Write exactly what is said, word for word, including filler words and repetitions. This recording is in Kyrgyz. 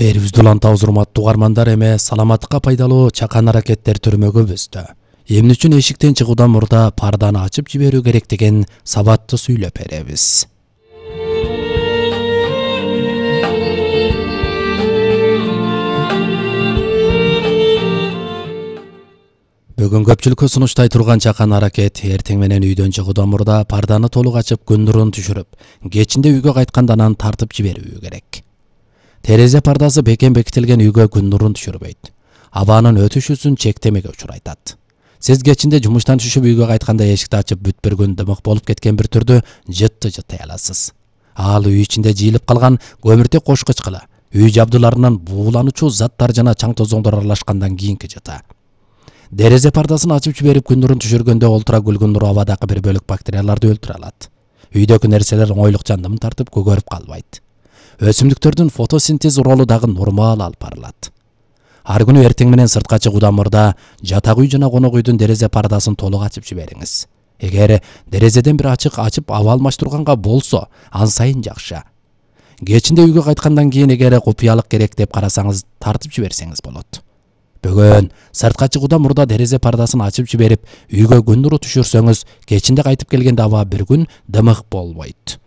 Эрибизди улантабыз урматтуу угармандар, эме саламаттыкка пайдалуу чакан аракеттер түрмөгүбүздө. Эмне үчүн эшиктен чыгуудан мурда парданы ачып жиберүү керек деген сабатты сүйлөп беребиз. Бүгүн көпчүлүккө сунуштай турган чакан аракет эртең менен үйдөн чыгуудан мурда парданы толук ачып күн нурун түшүрүп, кечинде үйгө кайтканда анан тартып жиберүү керек. Терезе пардасы бекем бекитилген үйгө күн нурун түшүрбөйт. Абанын өтүшүсүн чектемеге учурайтат. Сиз кечинде жумуштан түшүп үйгө кайтканда эшикти ачып бүт бир күн дымык болуп кеткен бир түрдү жытты жыттай аласыз. Ал үй ичинде жыйылып калган көмүртек кошкучкыла, үй жабдууларынан буулануучу заттар жана чаң тозоңдор аралашкандан кийинки жыта. Дерезе пардасын ачып жиберип күн нурун түшүргөндө олтура күлгүн нур абадагы бир бөлүк бактерияларды өлтүрө алат. Үйдөгү нерселер оңойлук жандымын тартып көгөрүп калбайт. Өсүмдүктөрдүн фотосинтез ролу дагы нормал алып барылат. Ар күнү эртең менен сыртка чыгуудан мурда жатак үй жана конок үйдүн дерезе пардасын толук ачып жибериңиз. Эгер дерезеден бир ачык ачып аба алмаштырганга болсо, ан сайын жакшы. Кечинде үйгө кайткандан кийин эгер купуялык керек деп карасаңыз, тартып жиберсеңиз болот. Бүгүн сыртка чыгуудан мурда дерезе пардасын ачып жиберип, үйгө күн нуру түшүрсөңүз, кечинде кайтып келгенде аба бир күн дымык болбойт.